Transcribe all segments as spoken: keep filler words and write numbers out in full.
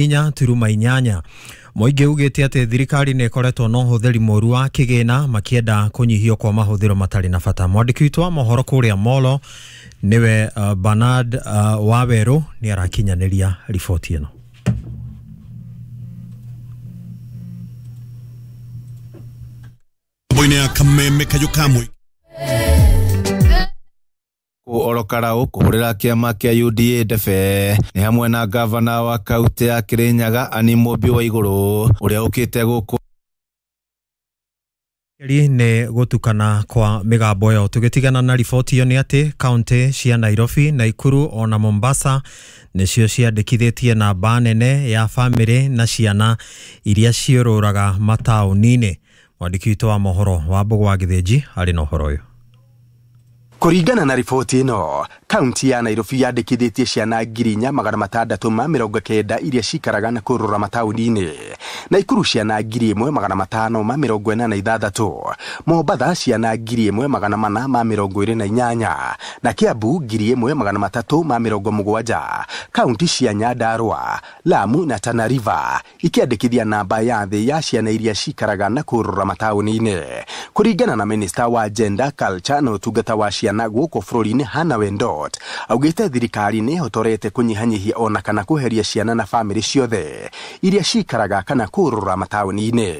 Inya turuma inyanya. Mũingĩ ugĩte atĩ thirikari nĩ ĩkoretwo na ũhũthĩri mũru wa kĩgĩna makĩenda kũnyihio kwa mahũthĩro matarĩ na bata. Mwandĩki witũ wa mohoro kũrĩa Molo nĩwe uh, Bernard uh, Wawerũ nĩ arakinyanĩria riboti ĩno. Boine kameme kayo Orokarau kuhurira kiama kia U D A ndebe ni hamwe na gavana wa kaunti ya Kirinyaga Anne Mumbi Waiguru uria ukite guku Ri nĩ gũtukana kwa mĩgambo ĩyo. Tũgĩtigana na riboti ĩyo nĩ atĩ kaunti cia Nairobi, Naikuru ona Mombasa nĩcio ciandĩkithĩtie namba nene ya bamĩrĩ na ciana iria ciũrũraga mataũni-inĩ. Mwandĩki witũ wa mohoro wa Mbũgũ wa Gĩthĩnji arĩ na ũhoro ũyũ. Kũringana na riboti ĩno, kaunti ya Nairobi yandĩkithĩtie ciana ngiri inya magana matandatũ ma mĩrongo kenda iria cikaraga na kũrũra mataũni-inĩ, Naikuru ciana ngiri ĩmwe magana matano ma mĩrongo ĩna na ithathatũ, Mombatha ciana ngiri ĩmwe magana mana ma mĩrongo ĩrĩ na inyanya, na Kiambu ngiri ĩmwe magana matatũ ma mĩrongo mũgwanja. Kaunti cia Nyandarua, Lamu na Tana River ikĩandĩkithia namba ya thĩ ya ciana iria cikaraga na kũrũra mataũni-inĩ. Kũringana na Minister wa Gender, Culture na Ũtungata wa Ciana gũkũ bũrũri-inĩ Hannah Wendot, augĩte thirikari nĩ ĩhotorete kũnyihanyihia ona kana kweheria ciana na bamĩrĩ ciothe iria cikaraga kana kũrũra mataũni-inĩ.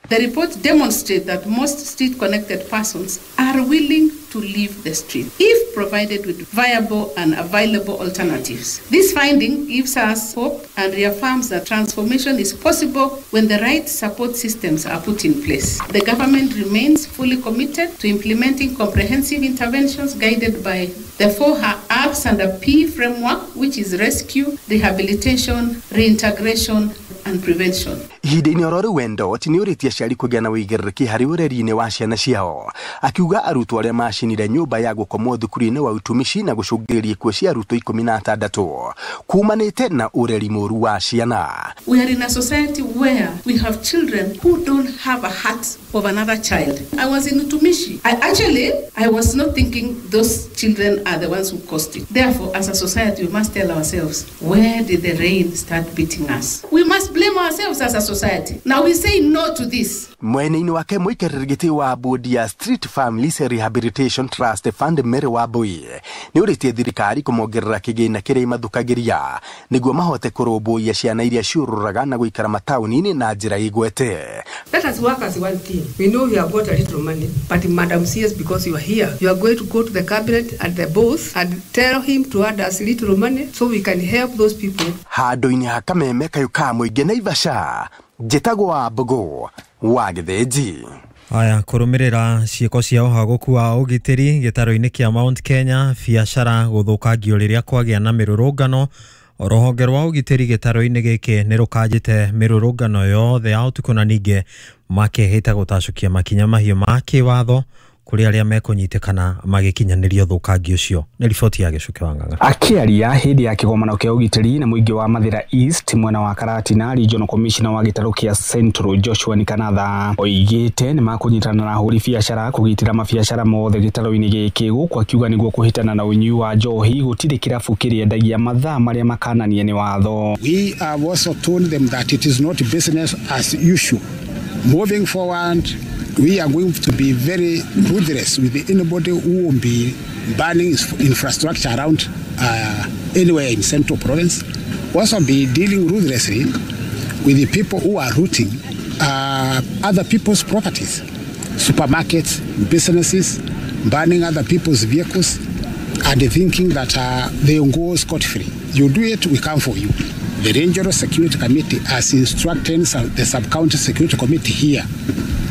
The report demonstrates that most street-connected persons are willing to leave the street if provided with viable and available alternatives. This finding gives us hope and reaffirms that transformation is possible when the right support systems are put in place. The government remains fully committed to implementing comprehensive interventions guided by the four R's and a P framework, which is rescue, rehabilitation, reintegration, and prevention. Ihinda-inĩ oro rĩu Wendot nĩ ũrĩtie aciari kũgĩa na ũigĩrĩrĩki harĩ ũreri-inĩ wa ciana ciao, akiuga arutwo arĩa macinire nyũmba ya gũkomwo thukuru-inĩ wa utumishi na gũcũngĩrĩria ikuũ cia arutwo ikũmi na atandatũ kumanĩte na ũreri mũru wa ciana. We are in a society where we have children who don't have a heart of another child. I was in Utumishi. I actually, I was not thinking those children are the ones who caused it. Therefore, as a society, we must tell ourselves, where did the rain start beating us? We must blame ourselves as a society. Now we say no to this. Mwene-inĩ wake mũikarĩri gĩtĩ wa bodi ya Street Families Rehabilitation Trust Fund Mary Wambui nĩ ũrĩtie thirikari kũmongerera kĩgĩna kĩrĩa imathukagĩria nĩguo mahote kũrũmbũiya ciana iria ciũrũraga na gũikara mataũni-inĩ na njĩra igwete. Let us work as one team. We know we have got a little money, but Madam C S, because you are here, you are going to go to the cabinet and the boss and tell him to add us little money so we can help those people. Handũ-inĩ ha kameme kayũ ka mũingĩ Naivasha, njĩtagwo Wambũgũ wa Gĩthĩnji. Aya, kũrũmĩrĩra ciĩko cia ũhagũku wa ũgitĩri gĩtaro-inĩ kĩa Mount Kenya, biacara gũthũkangio rĩrĩa kwagĩa na mĩrũrũngano. Rũhonge rwa ũgitĩri gĩtaro-inĩ gĩkĩ nĩ rũkanjĩte mĩrũrũngano yothe ya ũtukũ na ningĩ makehĩta gũtacũkia makinya mahiũ ma kĩwatho kũrĩ arĩa mekũnyitĩkana magĩkinyanĩria ũthũkangi ũcio. Nĩ riboti ya Gĩcuke wa Ng'ang'a. Akĩaria hĩndĩ ya kĩgomano kĩa ũgitĩri na mũingĩ wa Mathĩra East mwena wa Karatina, Regional Commissioner wa gĩtarũ kĩa Central Joshua Nikanatha oigĩte nĩ makũnyitana na ahũri biacara kũgitĩra mabiacara mothe gĩtarũ-inĩ gĩkĩ, gũkũ akiuga nĩguo kũhĩtana na ũnyui wa njohi gũtirĩ kĩrabu kĩrĩendagia mathaa marĩa makananie nĩ watho. We have also told them that it is not business as usual. Moving forward, we are going to be very ruthless with anybody who will be burning infrastructure around uh, anywhere in Central Province. Also be dealing ruthlessly with the people who are looting uh, other people's properties, supermarkets, businesses, burning other people's vehicles, and thinking that uh, they will go scot-free. You do it, we come for you. The Regional Security Committee has instructed the Sub-County Security Committee here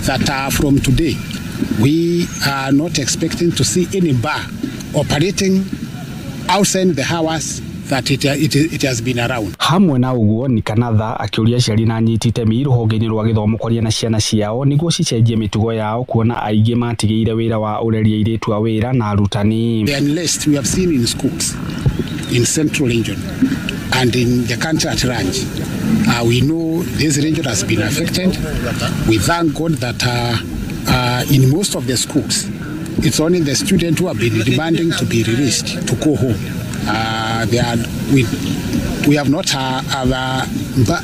that uh, from today, we are not expecting to see any bar operating outside the hours that it, it, it has been around. Hamwe na ũguo Nikanatha akĩũria aciari na anyiti itemi rũhonge-inĩ rwa gĩthomo kwaria na ciana ciao nĩguo cicenjie mĩtugo yao kuona aingĩ matigĩire wĩra wa ũreri airĩtu a wĩra na arutani. The unless we have seen in schools in Central Region and in the country at large, uh, we know this region has been affected. We thank God that uh, uh, in most of the schools, it's only the students who have been demanding to be released to go home. Uh, they are, we, We have not had other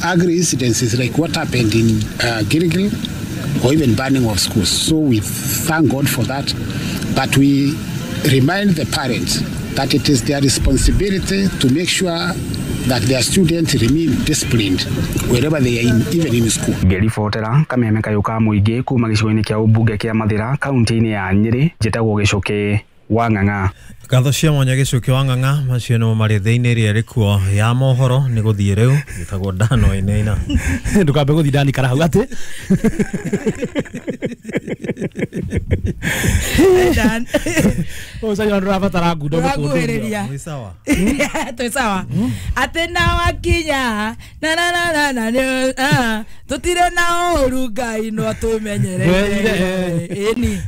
ugly incidences like what happened in uh, Gilgil or even burning of schools. So we thank God for that. But we remind the parents that it is their responsibility to make sure that their students remain disciplined wherever they are in, even in school. Ngĩribotera kameme kayũ ka mũingĩ kuma gĩcigo-inĩ kĩa ũmbunge kĩa Mathĩra kaunti-inĩ ya Nyĩrĩ, njĩtagwo Gĩcũkĩ wa Ng'ang'a. Ngatho cia mwanya Gĩcũkĩ wa Ng'ang'a, macio nĩmo marĩ thĩinĩ ĩrĩa ĩrĩ kuo ya mohoro. Nĩ gũthiĩ rĩu gĩtagwo Dano Inaina. Ndũkambe gũthiĩ ndanikara hau atĩ Dan. Ũcaria ndũrabatara ngundo. Ũrakuhĩrĩria. Mwĩ sawa? Twĩ sawa. Atĩ na wakinya na na na na na ah, tũtirĩ na ũru, Ngai no atũmenyerere. Ĩni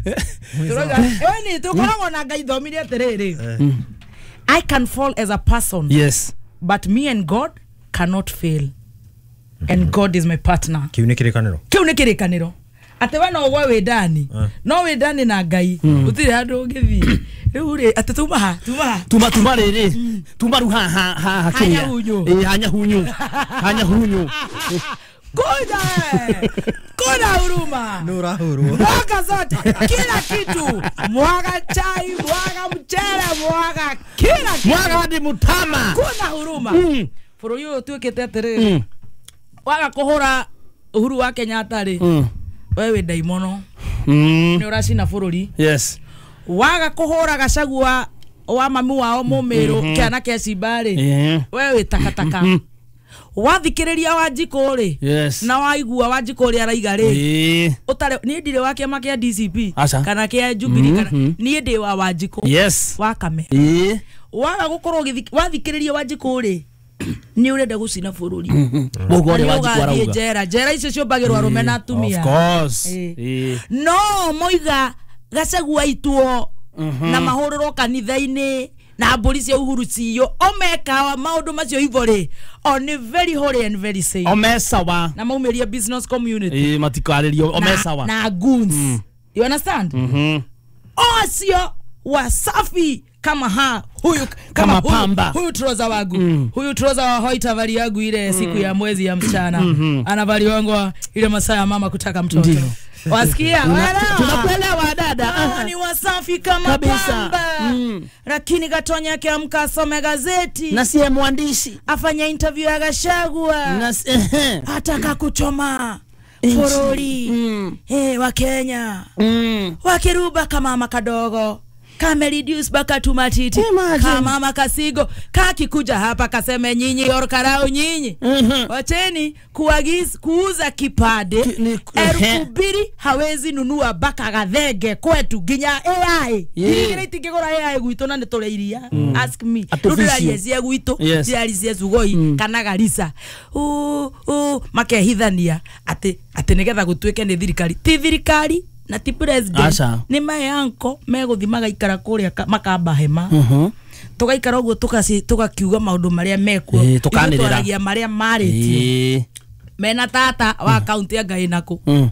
Tũrauga, ĩni tũkoragwo na Ngai. Thomire atĩrĩrĩ, I can fall as a person, yes but me and God cannot fail, and God is my partner. Kĩu nĩ kĩrĩkanĩro. Kĩu nĩ kĩrĩkanĩro atĩ we no ũgwe wĩ ndani, no wĩ ndani na Ngai gũtirĩ handũ ũngĩthiĩ. Rĩu rĩ, atĩ tuma ha tuma ha tuma tuma rĩrĩ tuma rĩu haha haha kĩrĩa. Hanyahunyu. Ĩ hanyahunyu hanyahunyu. Kuja eh. Kuna huruma. Nĩ ũrahũrwo. Mwaga zote, kila kitu, mwaga chai, mwaga mchele, mwaga kila kitu. Mwaga hadi mutama. Kuna huruma. Mm. Bũrũri ũyũ ũtuĩkĩte atĩrĩrĩ, waga kũhũra Uhuru wa Kenyatta rĩ, Mm. we wĩ ndaimono, Mm. nĩ ũracina bũrũri. Yes waga kũhũra Gachagua wa mami wao mũmĩrũ kĩana kĩa cimba rĩ, Yeah. we wĩ takataka. Wathikĩrĩria Wanjikũ rĩ, Yes. na waigua Wanjikũ ũrĩa araiga rĩ, Ĩĩ. ũtarĩ niĩ ndirĩ wa kĩama kĩa D C P Aca. kana kĩa Jubilee, kana niĩ ndĩ wa Wanjikũ Yes. wa Kame. Ĩĩ. Waga gũkorwo ũgĩthi- wathikĩrĩria Wanjikũ rĩ, nĩ ũrenda gũcina bũrũri. Mũguo Na ũrĩa nĩ Wanjikũ ũgathiĩ arauga. njera. Njera icio ciũmbagĩrwo arũme na atumia. Of course. Ĩĩ. Ĩĩ. No moiga Gachagua aitwo na mahũrĩrwo kanitha-inĩ na mbũri cia Uhuru ciyo, omeka maũndũ macio ivo rĩ, o nĩ very holy and very safe. Omesawa. Na maumĩria business community. Ĩĩ, matikarĩrio omesawa. na, na goons, you understand? Mhm. Ocio wasafi kama ha huyu kama, Kama huyu, pamba. Huyu troza wangu mm. huyu troza wa white avali yangu ile siku ya mwezi ya mchana mm -hmm. anavaliwangwa ile masaa ya mama kutaka mtoto. Ndiyo. Wasikia? Waelewa? Tunakuelewa dada. Hao ni wasafi kama Kabisa. pamba. Mm. Lakini Gatonya akiamka asome gazeti Na siye mwandishi. Afanya interview ya Gachagua, Na si- ehe. ataka kuchoma bũrũri. Mm. Hey, wa Kenya Mm. wakiruba kamama kadogo kame reduce baka tumatiti. Imagine. Kamama kasigo kakikuja hapa kaseme, nyinyi orkarau nyinyi, Mhm. wacheni kuagiz, kuuza kipande Ki- ni- elfu mbili hawezi nunua baka gathenge kwetu nginya A I. Yeah. Igĩrĩ itingĩgũra A I gwitũ na nĩ tũrĩ iria. Ask me. Rĩu Artificial. ndĩraria cia gwitũ, Yes. ndĩraria cia Sugoi kana Garissa. Ũ- ũ, makehithania atĩ atĩ nĩgetha gũtuĩke nĩ thirikari, ti thirikari na ti president. Aca. Nĩ mae anko megũthi magaikara kũrĩa ka- makamba hema, Mhm. tũgaikara ũguo, tũgaci- tũgakiuga maũndũ marĩa mekuo. Ĩĩ, Ithuĩ tũkanĩrĩra. twaragia marĩa marĩtio Ĩĩ. mena tata wa kaunti ya Ngai nakũ, Mm.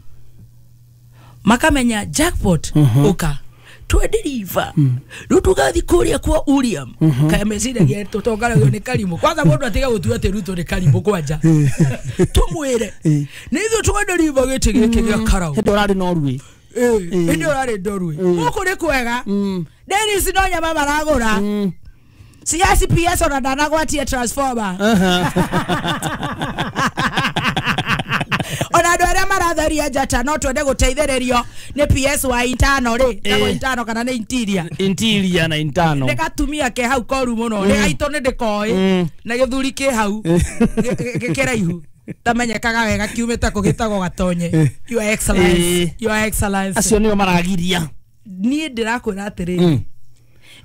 makamenya jackpot uka twenderiva rĩu tũgathi kũrĩa kwa William kaya meciragia tũtongaragio nĩ karimũ. Kwanza mũndũ atiga gũtua atĩ Ruto nĩ karimũ, kwanja tũmwĩre nĩ ithuĩ twenderiva gĩtĩ gĩkĩ gĩa karau. Hĩndĩ ũrarĩ Norway. Hĩndĩ ũrarĩ Norway gũkũ nĩ kwega. Dennis no nyama maragũra C S P S ona ndanagwatie transformer. Ona andũ arĩa maratheria njata, no twende gũteithĩrĩrio nĩ P S wa intano rĩ, tagwo intano kana nĩ interior. Interior na intano. Nĩ gatumia ke hau koru mũno, nĩ gaitũ nĩ ndĩkoĩ na gĩthuri kĩ hau gĩ- gĩ- kĩraihu tamenyekaga wega kiumĩte kũ, gĩtagwo Gatonye, Your Excellence. Ĩĩ. Your Excellence. Acio nĩo maragiria. Niĩ ndĩrakwĩra atĩrĩrĩ,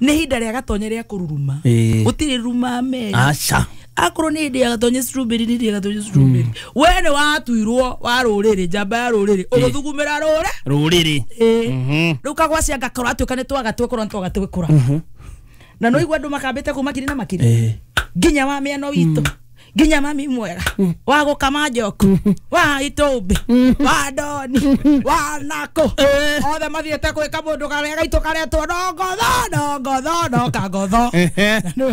nĩ ihinda rĩa Gatonye rĩa kũruruma. Ĩĩ. Gũtirĩ ruma meri. Aca. Akorwo nĩ hĩndĩ ya Gatonye strawberry, nĩ hĩndĩ ya Gatonye strawberry. We nĩ watuirwo wa rũrĩrĩ, njamba ya rũrĩrĩ, ũgũthugumĩra rũrĩ Rũrĩrĩ. Ĩĩ. Rĩu kagwacia ngakorwo atuĩka nĩ twagatwĩkũra, nĩ twagatwĩkũra na no igua andũ makambĩte kũ makiri na makiri Ĩĩ. nginya wa mĩano witũ. Nginya mami mwega wa gukama njoku wa itumbi wa ndoni wa nako othe mathiete gwika mundu karia gaitu karetwo no ngotho no ngotho no kangotho.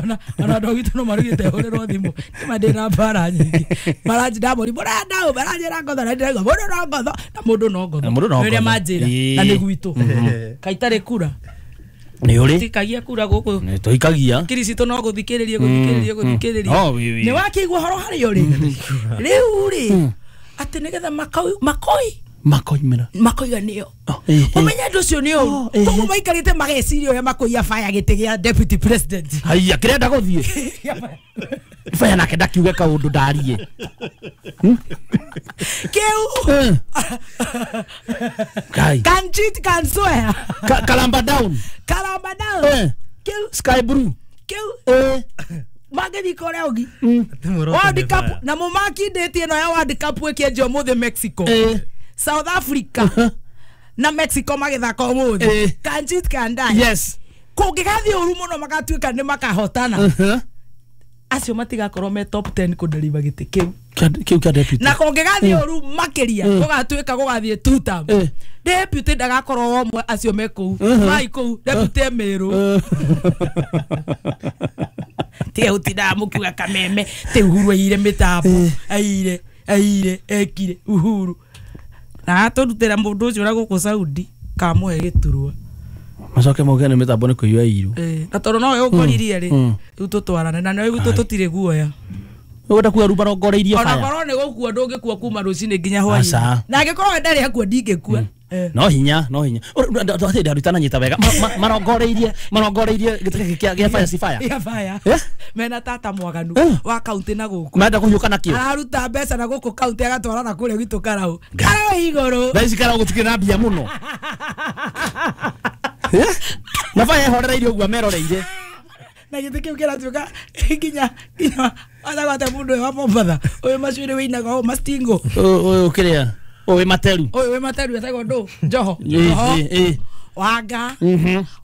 Ona ona andu gitu no marugite hurirwo thimu ma ndina mbara nyingi maranjira muri murenda u maranjira ngotho na ndiraigua mundu no ngotho na mundu no ngotho uria manjira na ni gwitu kaitari kura ni uri tikagia kura guku ni tuikagia kiricito no guthikiririe guthikiririe guthikiririe ni wakigua horo hari uri riu ri ati nigetha makoi makoi makoimira makoiga nio umenye andu ucio ni uru koguo maikarite mageciria uria makoiya fire giti gia deputy president. Haiya kirenda guthie fire nake ndakiuge kaundu ndarie kiu kai can cheat can swear kalamba down kalamba down kiu sky blue kiu eh magithi korea ugi World Cup na mumakindĩtie ĩno ya World Cup ĩkĩanjia ũmũthĩ Mexico, South Africa na Mexico magithaka ũmũthĩ. Can cheat can die. Yes. Kũngĩgathiĩ ũru mũno magatuĩka nĩ makahotana acio matigakorwo me top ten kũnderiva gĩtĩ kĩu kĩu kĩa deputy. Na kũngĩgathiĩ ũru makĩria gũgatuĩka gũgathiĩ two term deputy ndagakorwo ũmwe acio me kũu mai kũu deputy Meru tiga gũtindaga mũkiuga kameme ti Uhuru aire mĩtambo aire aire ekire Uhuru na atũrutĩra mũndũ ũcio ũrĩa gũkũ Saudi kamũhe gĩturwa macoke mauge nĩ mĩtambo nĩ kũiywo iru na tondũ nowe ũngoririe rĩ rĩu tũtwarane na nĩwe gwitũ tũtirĩ guoya ũgwenda kuga rĩu marongoreirie ona korwo nĩ gũkua ndũngĩkua kuma rũcinĩ nginya hwainĩ na angĩkorwo we ndarĩ akua ndingĩkua. No hinya no hinya atĩ ndarutana nyita wega marongoreirie marongoreirie gĩtĩ gĩkĩ gĩa fire si fire ya fire mena tata mwaganu wa kaunti na gũkũ menda kũhiũka nakĩo araruta mbeca na gũkũ kaunti agatwara na kũrĩa gwitũ Karau Karau igũrũ thaa ici Karau gũtikĩrĩ na mbia mũno na fire ehorereirie ũguo ameroreire na gĩtĩ kĩu kĩratuĩka nginya nginya atagwate mũndũ ũyũ wa Mombatha ũyũ macuĩrĩ wĩinaga ũũ mastingo ũyũ kĩrĩa ũyũ materu ũyũ wĩ materu etagwo ndũ Njoho Njoho Wanga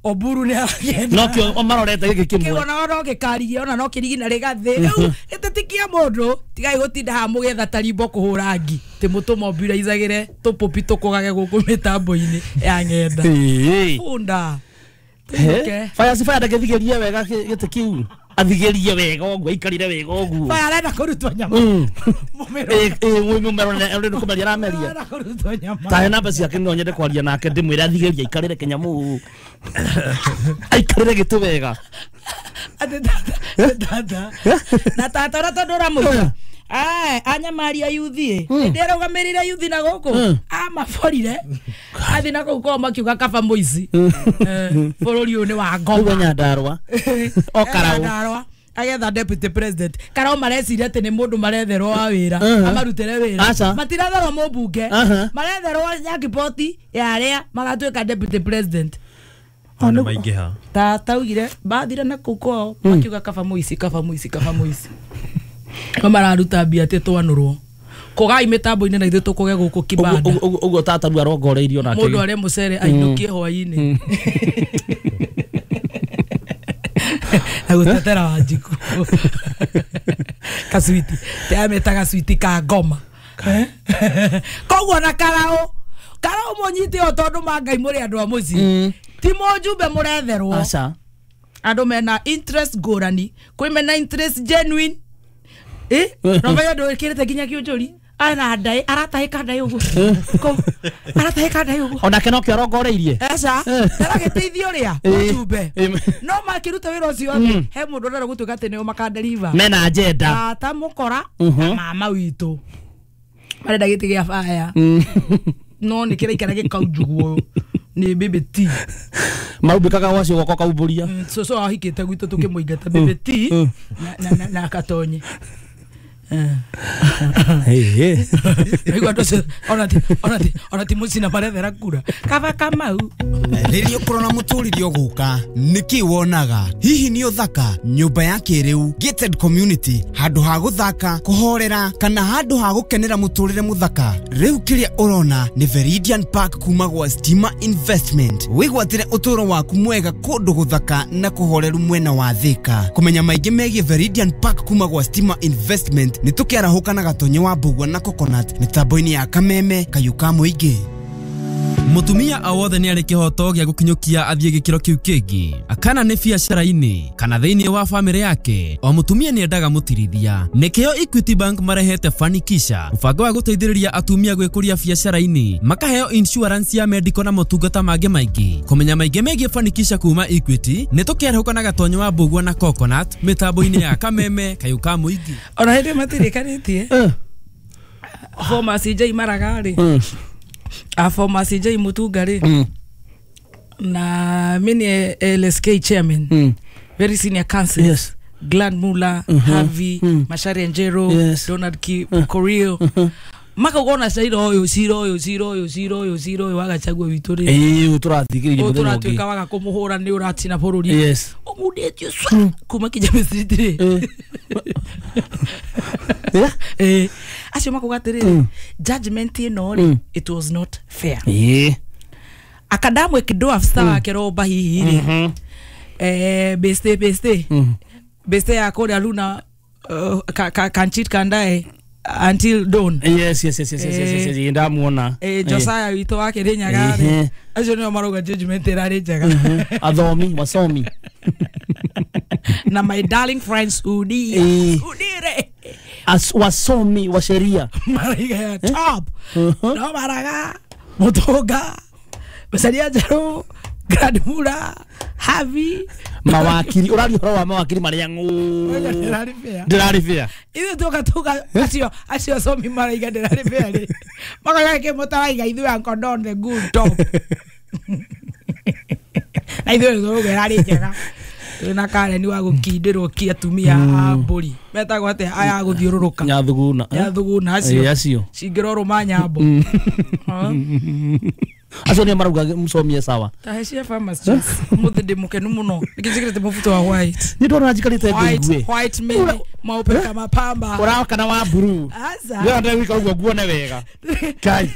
Oburu nĩ aragenda nokĩo marorete gĩkĩ kĩmwe kĩu ona no gĩkarigia ona no kĩrigi na rĩgathĩ rĩu gĩtĩ ti kĩa mũndũ tigai gũtinda haha mũgĩetha tarimbo kũhũra ngi tĩ mũtũmombiraicagĩre tũpũpi tũkũgage gũkũ mĩtambo-inĩ ya ng'enda bunda fire si fire ndagĩthigerie wega gĩtĩ kĩu athigerie wega ũguo aikarire wega ũguo fire arenda kũrutwo nyama mũmero ĩ mũmero nĩ kũmeria arameria arenda kũrutwo nyama tahe namba ciake no nyende kwaria nake ndĩmwĩre athigerie aikarĩre kĩnyamũ aikarĩre gĩtĩ wega atĩ tata tata na tata ũrĩa tondũ ũramũiga Ai, anyamaria yuthi ndĩrũgamĩrĩire yuthi na gũkũ amaborire athi na kũu kwao makiuga kaba mũici bũrũri ũyũ nĩ wa ngoma ũguo Nyandarua o Karau Nyandarua agetha deputy president Karau mareciria atĩ nĩ mũndũ maretherwo wa wĩra amarutĩre wĩra matiretherwo mũmbunge maretherwo nyakipoti ya arĩa magatuĩka deputy president nĩ maingĩha tata augire bathire na kũu kwao makiuga kaba mũici kaba mũici kaba mũici no mararuta mbia atĩ twanũrwo kũgai mĩtambo-inĩ na ithuĩ tũkũge gũkũ kibanda ũguo tata rĩu arongoreirio nake mũndũ arĩa mũcere ainũkie hwainĩ na gũtetera Wanjikũ kaswiti te gaswiti ka ngoma koguo na Karau Karau mũnyite o tondũ ma Ngai mũrĩ andũ a mũciĩ ti mũjumbe mũretherwo aca andũ mena interest ngũrani kwĩ mena interest genuine eh no menya ndwikirite nginya kiunjuri ana ndai aratahika ndai uguo ko aratahika ndai uguo onake no kĩo arongoreirie aca aragĩteithia ũrĩa mũjumbe no makĩruta wĩra ũcio atĩ he mũndũ ũrenda gũtuĩka atĩ nĩo makanderiva mena agenda tata mũkora na mama witũ marenda gĩtĩ gĩa baya no nĩ kĩraikara gĩkaunjugwo nĩ baby T maumbĩkaga gwacio gwakwa kaumbũria cũcũ ahikĩte gwitũ tũkĩmũingata baby T na na na katonye Eh Igua andũ ona ti ona ti ona ti mũcina marethera kura kaba Kamau. Rĩrĩa ũkũrona mũtũrĩre ũgũka nĩkĩ wonaga hihi nĩ ũthaka nyũmba ya kĩrĩu gated community handũ ha gũthaka kũhorera kana handũ ha gũkenera mũtũrĩre mũthaka rĩu kĩrĩa ũrona nĩ Veridian Park kuma gwa Stima Investment wĩgwatĩre ũtũro waku mwega kũndũ gũthaka na kũhoreru mwena wa Thika kũmenya maingĩ megiĩ Veridian Park kuma gwa Stima Investment nĩ tũkĩarahũka na Gatonye wa Mbugua na Coconut mĩtambo-inĩ ya Kameme Kayuka mũingĩ. Mutumia o wothe nĩ arĩ kĩhoto gĩa gũkinyũkia athiĩ gĩkĩro kĩu kĩngĩ kana nĩ biacara-inĩ kana thĩinĩ wa bamĩrĩ yake o mutumia nĩ endaga mũtirithia nĩkĩo Equity Bank marehete Fanikisha mũbango wa gũteithĩrĩria atumia gwĩkũria biacara-inĩ makaheo insurance ya medical na motungata mangĩ maingĩ kũmenya maingĩ megiĩ Fanikisha kuma Equity nĩ tũkĩarahũka na Gatonye wa Mbugua na Coconut mĩtambo-inĩ ya Kameme Kayuka mũingĩ. Ona hĩndĩ matirĩkanĩtie former C J Maraga rĩ a former C J Mutunga rĩ mm. na mini L S K chairman mm. very senior council yes. Glenn Muller mm -hmm. Harvey mm. Mashari Njero yes. Donald Ki mm. Korio mm -hmm. makagona cira uyu cira uyu cira uyu cira uyu cira uyu wagachagua witu ri eh turathikiririe muthenya ungi turatuika waga kumuhura ni uratina bururi yes umundetio swa kuma Kijamii Street ri eh acio makuga atiriri judgment ino ri it was not fair eh akadamwe kido afisa wake roba hihi ri eh beste beste beste ya koda luna kanchit kandae until dawn. Yes yes yes yes yes yes yes ndamuona eh Josiah wito wake Rinyaga ri acio nio maruga judgment irari njega athomi wasomi na my darling friends udi udire as wasomi wa sheria mariga top no Maraga Mutunga Macharia Njeru Grand Mura Harvey mawakiri urari horo wa mawakiri maria ng'u ndirari fair ithuĩ tuka tuka acio acio asomi maraiga ndirari fair ri makoiga kĩ mũtaraiga ithuĩ Uncle Don the good top na ithuĩ tũrauga ĩrarĩ njega twĩna Karen wa gũkindĩrwo ki atumia a mbũri metagwo atĩa aya gũthiũrũrũka nyathuguna nyathuguna acio acio cingĩrorũma nyambo acio nĩ marauga msomie sawa ta cia farmers muthi ndi mukenu muno nikijikirite mubuto wa white ni ndona njikarite ngwe white mimi maupe kama pamba uraka na wa blue aza yo ndagwika uguo nguone wega kai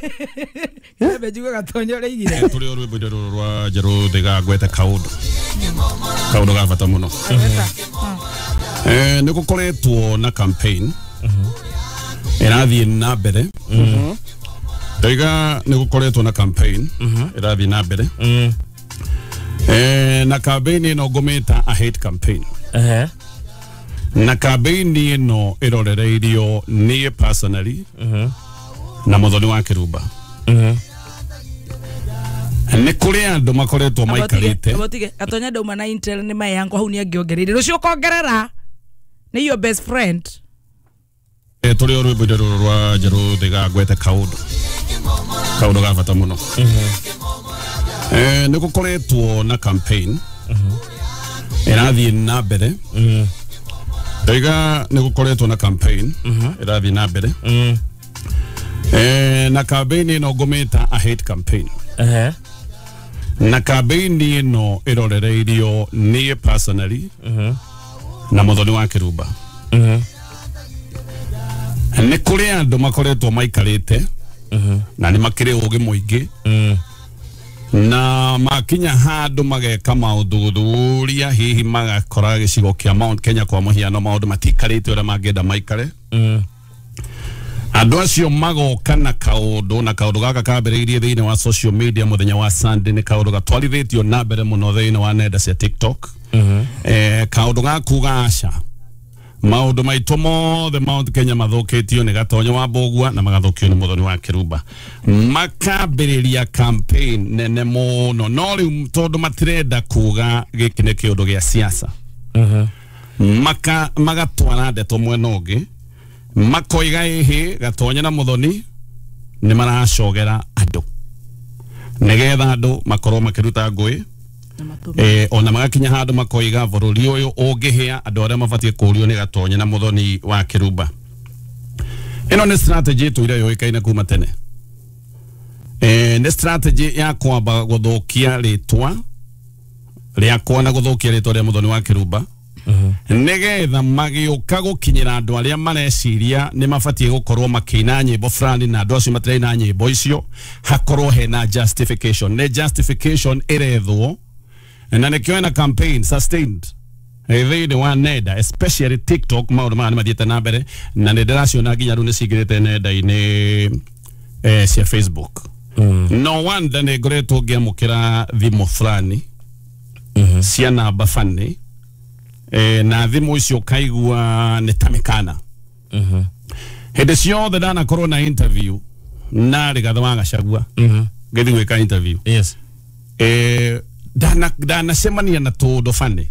Kebe njigue Gatonyo ũrĩa tũrĩ o rwĩmbo-inĩ rũrũ rwa Njerũ Thiga ngwete kaũndũ kaũndũ ga bata mũno eh nĩ gũkoretwo na campaign ĩrathiĩ na mbere Ndaiga nĩ gũkoretwo na campaign ĩrathiĩ na mbere eh na campaign ĩno ngũmĩta a hate campaign eh na campaign ĩno ĩrorereirio niĩ personally na Muthoni wa Kĩrumba nĩ kũrĩ andũ makoretwo maikarĩte Abotige Gatonya ndauma na Intel nĩ mae yankwa hau nĩ angĩongereire rũciũ ũkongerera nĩ your best friend tũrĩ o rwĩmbo-inĩ rũrũ rwa Njerũ Thiga ngwete kaũndũ kaũndũ ga bata mũno eh nĩ gũkoretwo na campaign ĩrathiĩ na mbere Ndaiga nĩ gũkoretwo na campaign ĩrathiĩ na mbere eh na campaign ĩno ngũmĩta a hate campaign eh na campaign ĩno ĩrorereirio niĩ personally na Muthoni wa Kĩrumba nĩ kũrĩ andũ makoretwo maikarĩte na nĩ makĩrĩ ũgĩ mũingĩ na makinya handũ mageka maũthuthuria hihi magakora gĩcigo kĩa Mount Kenya kwa mũhiano maũndũ matikarĩte ũrĩa mangĩenda maikare andũ acio magoka na kaũndũ na kaũndũ gaka kambĩrĩirie thĩinĩ wa social media mũthenya wa Sunday nĩ kaũndũ gatwarithĩtio na mbere mũno thĩinĩ wa nenda cia TikTok eh kaũndũ ga kuga aca maũndũ maitũ mothe Mount Kenya mathũkĩtio nĩ Gatonye wa Mbugua na magathũkio nĩ Muthoni wa Kĩrumba makambĩrĩria campaign nene mũno no rĩu tondũ matirenda kuga gĩkĩ nĩ kĩũndũ gĩa siasa maka magatwara ndeto mwena ũngĩ makoiga ĩhĩ Gatonye na Muthoni nĩ maracogera andũ nĩgetha andũ makorwo makĩruta ngũĩ eh ona magakinya handu makoiga bururi uyu ungihia andu aria mabatie kurio ni Gatonye na Muthoni wa Kĩrumba Ĩno nĩ strategy ĩtũire yũĩkaine kuma tene. Eh, nĩ strategy ya kwamba gũthũkia rĩtwa rĩakwa na gũthũkia rĩtwa rĩa Muthoni wa Kĩrumba nĩgetha magĩũka gũkinyĩra andũ arĩa mareciria nĩ mabatiĩ gũkorwo makĩina nyĩmbo fulani na andũ acio matiraina nyĩmbo icio hakorwo hena justification. Nĩ justification ĩrethwo na nĩkĩo hena campaign sustained thĩinĩ wa nenda, especially TikTok. Maũndũ maya nĩ mathiĩte na mbere na nĩ ndĩraciona nginya rĩu nĩ cingĩrĩte nenda-inĩ eh, cia Facebook. No wonder nĩ ngoretwo ngĩamũkĩra thimũ fulani cia namba bani eh, na thimũ icio ũkaigua nĩ ta mĩkana. Hĩndĩ ciothe ndanakorwo na interview na Rigathĩ wa Gachagua ngĩthiĩ gwĩka interview, yes, eh, ndana ndanacemania na tũũndũ bani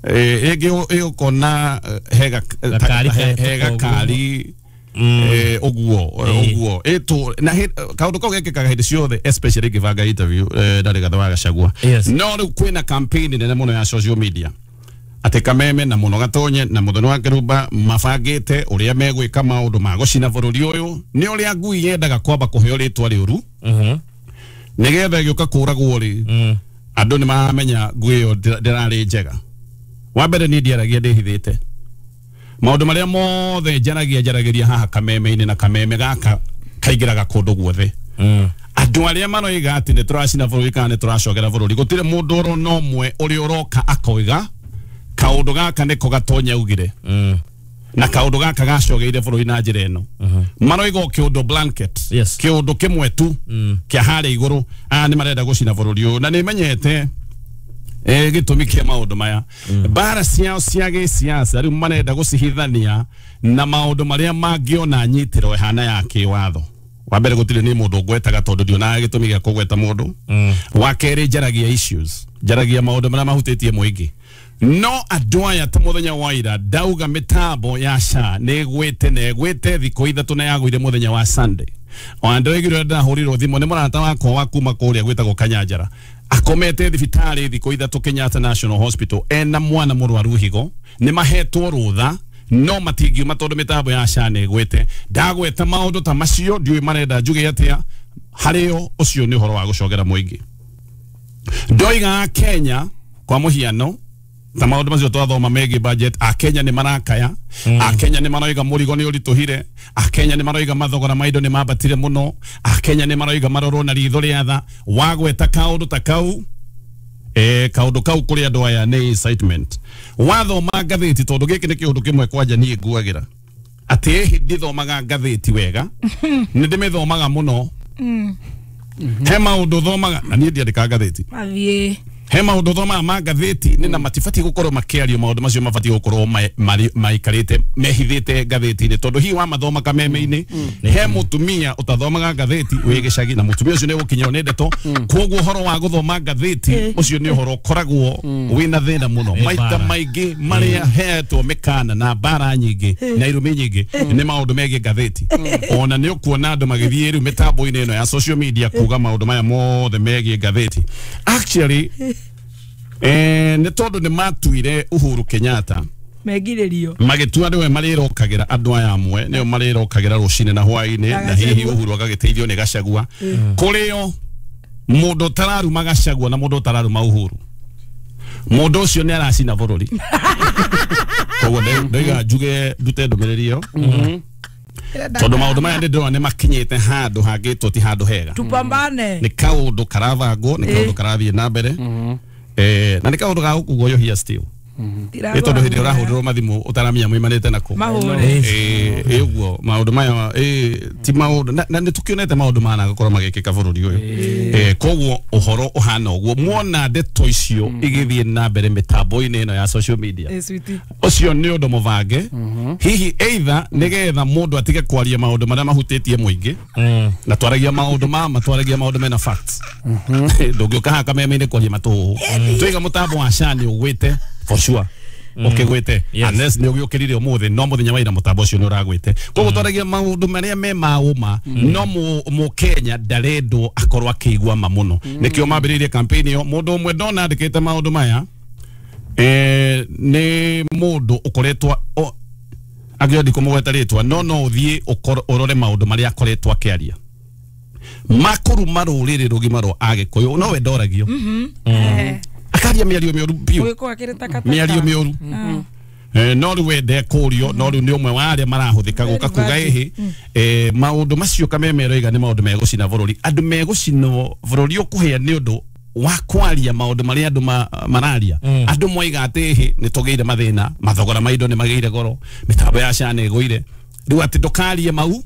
eh, ĩngĩ ĩũkona hega Gakari he- ka- he gakari eh, ũguo ũguo ĩtũ na hĩ- kaũndũ kau gekĩkaga hĩndĩ ciothe, especially ngĩbanga interview eh, na Rigathĩ wa Gachagua. Yes. No rĩu kwĩna campaign nene mũno ya social media atĩ Kameme na Mũno Gatonye na Muthoni wa Kĩrumba mabangĩte ũrĩa megwĩka maũndũ ma gũcina bũrũri ũyũ. Nĩ ũrĩa ngui yendaga kwamba kũheo rĩtwa rĩũru nĩgetha ĩgĩũka kũragwo rĩ, andũ nĩ maramenya ngui ĩyo ndĩra- ndĩrarĩ njega. Wa mbere niĩ ndiaragia ndĩhithĩte maũndũ marĩa mothe njaragia njaragĩria haha Kameme-inĩ na Kameme gaka kaingĩraga kũndũ guothe. Andũ arĩa maroiga atĩ nĩ tũracina bũrũri kana nĩ tũracogera bũrũri, gũtirĩ mũndũ oro na ũmwe ũrĩa ũroka akoiga kaũndũ gaka nĩko Gatonya augire na kaũndũ gaka gacogeire bũrũri na njĩra ĩno. Maroiga o kĩũndũ blanket, Yes. kĩũndũ kĩmwe tu kĩa harĩa igũrũ, aya nĩ marenda gũcina bũrũri ũyũ. Na nĩ menyete eh, gĩtũmi kĩa maũndũ maya, mbara ciao cia gĩsiasa rĩu marenda gũcihithania na maũndũ marĩa mangĩona nyitĩro ĩhana ya kĩwatho. Wa mbere gũtirĩ nĩ mũndũ ngwetaga tondũ ndionaga gĩtũmi gĩa kũgweta mũndũ. Wa kerĩ njaragia issues, njaragia maũndũ marĩa mahutĩtie mũingĩ. No andũ aya ta mũthenya wa ira ndauga mĩtambo ya SHA nĩ ĩgwĩte na ĩgwĩte thikũ ithatũ na yagũire mũthenya wa Sunday. Ona ndĩraiguire ndahũrirwo thimũ nĩ mũrata wakwa wa kuma kũrĩa gwĩtagwo Kanyanjara, akomete thibitarĩ thikũ ithatũ Kenyatta National Hospital ena mwana mũrwaru higo, nĩ mahetwo rũtha no matingiuma tondũ mĩtambo ya SHA nĩ ĩgwĩte. Ndagweta maũndũ ta macio ndiũĩ marenda njuge atĩa harĩo. Ũcio nĩ ũhoro wa gũcogera mũingĩ. Ndoiga Kenya kwa mũhiano ta maũndũ macio twathoma megiĩ budget, akenya nĩ marakaya, akenya nĩ maroiga mũrigo nĩ ũritũhire, akenya nĩ maroiga mathogora ma indo nĩ mambatire mũno, akenya nĩ maroiga marorwo na ritho rĩa tha. Wagweta kaũndũ ta kau, eh, kaũndũ kau kũrĩ andũ aya nĩ incitement. Wathoma ngathĩti, tondũ gĩkĩ nĩ kĩũndũ kĩmwe kwanja niĩ nguagĩra atĩ ĩhĩ ndithomaga ngathĩti wega, nĩ ndĩmĩthomaga mũno. He maũndũ thomaga na niĩ ndiandĩkaga ngathĩti. Mathiĩ He maũndũ thomaga ma ngathĩti nĩ na matibatiĩ gũkorwo makĩario, maũndũ macio mabatiĩ gũkorwo maikarĩte mehithĩte ngathĩti-inĩ tondũ hihi wamathoma kameme-inĩ he mũtumia ũtathomaga ngathĩti wĩ gĩcagi na mũtumia ũcio nĩ ũgũkinyĩrwo nĩ ndeto. Koguo ũhoro wa gũthoma ngathĩti ũcio nĩ ũhoro ũkoragwo wĩna thĩna mũno. Maita maingĩ marĩa heetwo mĩkana na mbara nyingĩ na irumi nyingĩ nĩ maũndũ megiĩ ngathĩti. Ona nĩ ũkuona andũ magĩthiĩ rĩu mĩtambo-inĩ ĩno ya social media kuga maũndũ maya mothe megiĩ ngathĩti. Actually eh, nĩ tondũ nĩ matuire Uhuru Kenyatta megirĩrio magĩtua nĩwe marĩrokagĩra andũ aya amwe nĩo marĩrokagĩra rũcinĩ na hwaĩ-inĩ na hihi Uhuru agagĩteithio nĩ Gachagua. Kũrĩo mũndũ ũtararuma Gachagua na mũndũ ũtararuma Uhuru, mũndũ ũcio nĩ aracina bũrũri. Koguo ndoiga njuge ndute ndũmĩrĩri ĩyo tondũ maũndũ maya nĩ ndĩrona nĩ makinyĩte handũ hangĩtwo ti handũ hega. Tupambane. Nĩ kaũndũ karabangwo, nĩ kaũndũ karathiĩ na mbere, eh, na nĩ kaũndũ ga gũkugoyohia still nĩ tondũ hĩndĩ ĩrĩa ũrahũrĩrwo mathimũ ũtaramenya moimanĩte nakũ. Mahũre. Ĩ ũguo maũndũ maya ti maũndũ na nĩ tũkĩonete maũndũ mana gũkorwo magĩkĩka bũrũri ũyũ. Eh, koguo ũhoro ũhana ũguo muona ndeto icio igĩthiĩ na mbere mĩtambo-inĩ ĩno ya social media, ũcio nĩ ũndũ mũbange hihi either nĩgetha mũndũ atige kwaria maũndũ marĩa mahutĩtie mũingĩ na twaragia maũndũ ma twaragia maũndũ mena facts. Ndũngĩũka haha kameme-inĩ kwaria matũhũhũ. Twiga mũtambo wa SHA nĩ ũgwĩte for sure ukigwite unless ni ugiukirire umuthi no muthenya wa ira mutambo ucio ni uragwite. Koguo twaragia maundu maria me ma uma no mu Kenya ndarendwo akorwo akigwa ma muno. Nikio mambiririe campaign iyo mundu umwe ndona andikite maundu maya eh ni mundu ukoretwo Angĩo ndikũmũgweta rĩtwa no no ũthiĩ ũrore maũndũ marĩa akoretwo akĩaria makũruma rũrĩrĩ rũgima rwa Agĩkũyũ no we ndoragio akaria mĩario mĩũru biũ mĩario mĩũru eh no rĩu we ndekũrio no rĩu nĩ ũmwe wa arĩa marahũthĩka gũka kuga ĩhĩ eh maũndũ macio Kameme aroiga nĩ maũndũ megũcina bũrũri andũ megũcinwo bũrũri ũkũhĩa nĩ ũndũ wa kwaria maũndũ marĩa andũ mararia andũ moiga atĩ ĩhĩ nĩ tũgĩire mathĩna mathogora ma indo nĩ magĩire goro mĩtambo ya SHA nĩ ĩgũire rĩu atĩ ndũkarie mau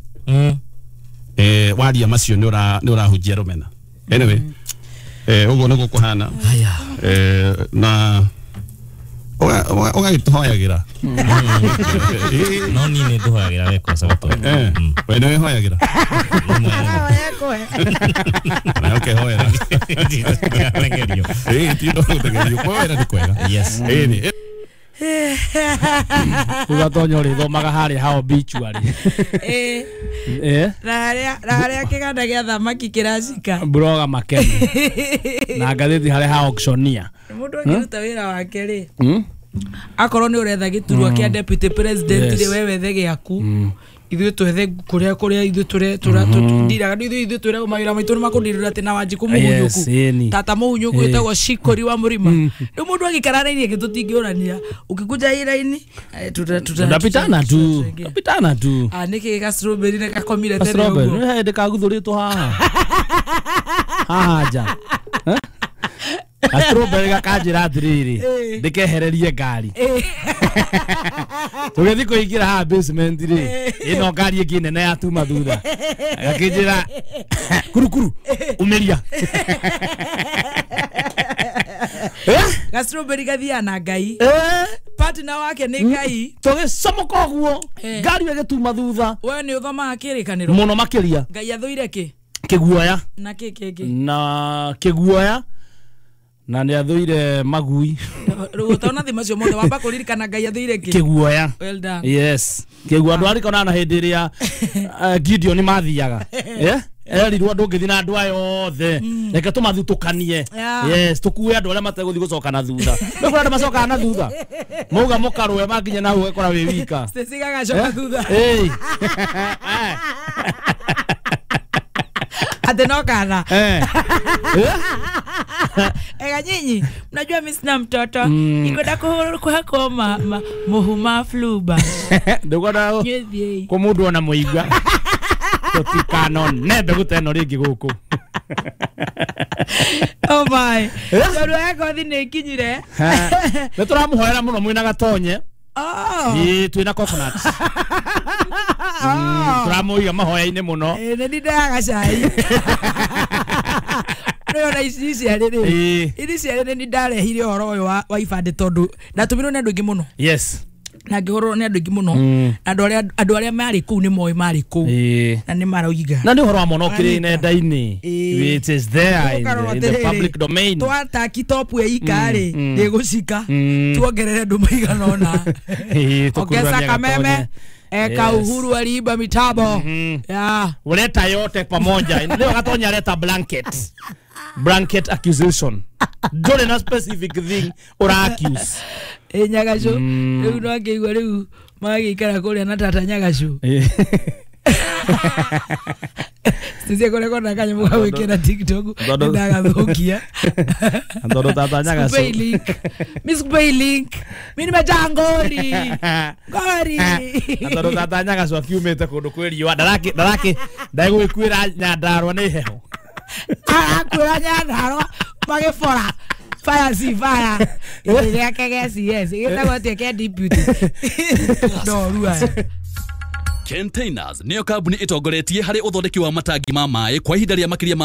eh waria macio nĩ ũra nĩ ũrahunjia rũmena anyway eh ũguo nĩguo kũhana eh na ũgagĩtũhoyagĩra no niĩ nĩ ndũhoyagĩra we kosa gũtonya eh we nĩ wĩhoyagĩra na ũkehoera ĩĩ ti ũndũ wa gũtegerio kwĩhoera nĩ kwega yes ĩĩ nĩ rĩu Gatonya ũrĩthomaga harĩa ha obituary ĩĩ na harĩa na harĩa kĩganda gĩa thamaki kĩracika Broga Makeni na ngathĩti harĩa ha auctioneer mũndũ akĩruta wĩra wake rĩ akorwo nĩ ũretha gĩturwa kĩa deputy president rĩ we wethe gĩaku ithuĩ twethe kũrĩa kũrĩa ithuĩ tũre tũndiraga ithuĩ ithuĩ twĩragwo mawĩra maitũ nĩ makũndirĩra atĩ na Wanjikũ Mũhunyũku tata Mũhunyũku wĩtagwo Shikori wa Mũrima rĩu mũndũ agĩikara raini ĩngĩ tũtingĩũrania ũkĩkunja hii raini tutapitana tu tutapitana tu ah nĩkĩ ga strawberry nĩ gakomire tene ũguo nĩ hĩndĩ kaguthũrĩtwo haha haha nja strawberry gakanjĩra atĩrĩrĩ ndĩkehererie ngari tũgĩthiĩ kũingĩra haha basement rĩ ĩno ngari ĩngĩ nene yatuma thutha gakĩnjĩra kurukuru umĩria ga strawberry gathiaga na Ngai partner wake nĩ Ngai tũgĩcomoka ũguo ngari ĩgĩtuma thutha we nĩ ũthomaga kĩrĩkanĩro mũno makĩria Ngai athũire kĩ kĩguoya na kĩ kĩngĩ na kĩguoya na nĩ athũire magui rĩu ũtona thĩ macio mothe wamba kũririkana Ngai athũire kĩ kĩguoya well done yes kĩguoya ndwarikona na hĩndĩ ĩrĩa Gideon mathiaga eh erirwo ndũngĩthiĩ na andũ aya othe reke tũmathutũkanie yes tũkue andũ arĩa mategũthiĩ gũcoka na thutha nĩ kũrĩ andũ macokaga na thutha mauga mũkarũe makinya na hau ũgekora wĩ wika Stacy gagacoka thutha ĩĩ ate no kana eh ega nyinyi mnajua mimi sina mtoto mm. Ikwenda kuhako ma, ma muhuma fluba ndugona ko mundu ona muigua tutikano nende guteno ringi guku oh my tondu yako thi ni kinyire ni turamuhoera muno mwina Gatonye oh ii twina coconut turamuiga mahoya-inĩ mũno ĩ nĩ ndindaga cai rĩu ici ciarĩ rĩ ici ciarĩ nĩ ndarehire ũhoro ũyũ wa ibandĩ tondũ ndatũmirwo nĩ andũ aingĩ mũno yes na ngĩhũrwo nĩ andũ aingĩ mũno andũ arĩa andũ arĩa marĩ kũu nĩ moĩ marĩ kũu na nĩ maroiga na nĩ ũhoro wa mwana ũkĩrĩ nenda-inĩ it is there in the, in the public domain twataki top ya ika rĩ ndĩgũcika tuongerere andũ maigana ũna ongeza Kameme eka Uhuru aliiba mitabo yeah uleta yote pamoja leo Gatonya leta blanket blanket accusation ndũrĩ na specific thing ura accuse ĩ Nyagacu rĩu no akĩigua rĩu magagĩikara kũrĩa na tata Nyagacu Sisi kũrĩa kona kanyamũ ga gwĩkĩra TikTok ndagathũkia tondũ tata Nyagacu sikupei link mi sikupei link mi nimejaa ngori ngori tondũ tata Nyagacu akiumĩte kũndũ kwĩ riũa ndaraki ndaraki ndegũgĩkuĩra Nyandarua nĩ heho arakuĩra Nyandarua magĩbora fire si fire gĩtĩ gĩake gĩa C S gĩtagwo atĩa kĩa deputy ndorua Containers nĩyo kambuni ĩtongoretie harĩ ũthondeki wa matangi ma maĩ kwa ihinda rĩa makĩria ma